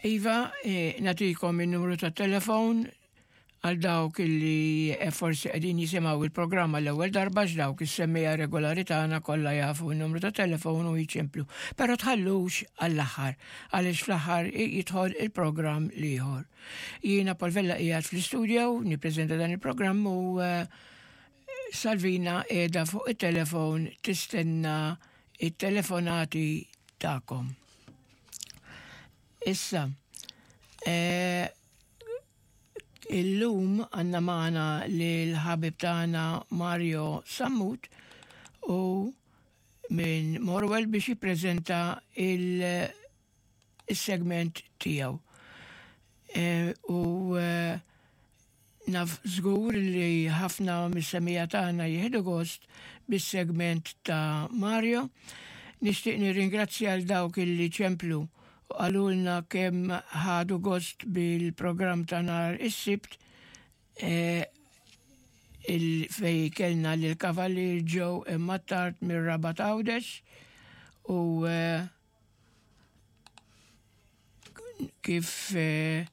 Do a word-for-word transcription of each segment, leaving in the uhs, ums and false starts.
Iva, eh, nagħtikom il-numru ta' telefon għal dawk illi eh, forsi qegħdin jisimgħu il-programma l-ewwel darba, dawk is-semmiegħa regolari tagħna kollha jafu n-numru ta' telefon u jiċemplu. Però tħallux għall-aħħar, għaliex fl-aħħar jidħol il-programm l-ieħor. Jiena Paul Vella qiegħed fl-istudio nippreżenta dan il-programm u eh, Salvina qiegħda fuq it-telefon tistenna it-telefonati tagħkom. Issa, eh, illum għandna magħna l-ħabib tagħna Mario Sammut u minn Morwell biex jippreżenta il-segment tiegħu. E, u e, naf żgur li ħafna mis-semmiegħa tagħna jieħdu gost bis-segment ta' Mario. Nixtieq nirringrazzja għal dawk illi ċemplu u qalulna kemm ħadu gost bil-programm ta' nhar is-Sibt e, il fej kellna l-Kavallier Joe Mattart mir-Rabat Għawdex u e, kif e,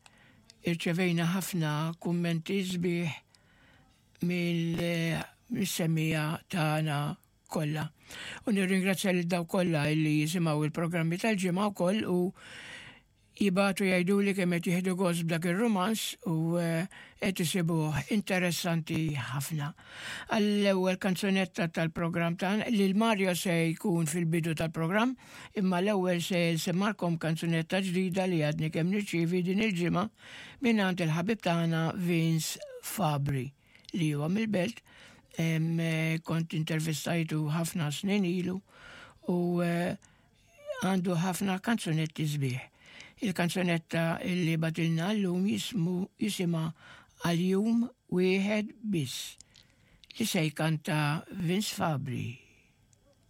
irċevejna ħafna kummenti sbieħ mill-semmiegħa tagħna kollha. U nirringrazzja lil dawk kollha illi jisimgħu il-programmi tal-ġimgħa wkoll u jibagħtu jgħidu li kemm qed jieħdu gost b'dak ir-rumanz u eh, qed isibuh interessanti ħafna. Għall-ewwel kanzunetta tal-programm tagħna li l-Mario se jkun fil-bidu tal-programm, imma l-ewwel se nsemmagħkom kanzunetta ġdida li għadni kemm nirċievi din il-ġimgħa mingħand il-ħabib tagħna Vince Fabri, li huwa mill-Belt. Em, eh, kont intervistajtu ħafna snin ilu u eh, għandu ħafna kanzunetti sbieħ. Il-kanzunetta illi bagħtilna llum jismu jisimha "Għal Jum Wieħed Biss", li se jkanta Vince Fabri.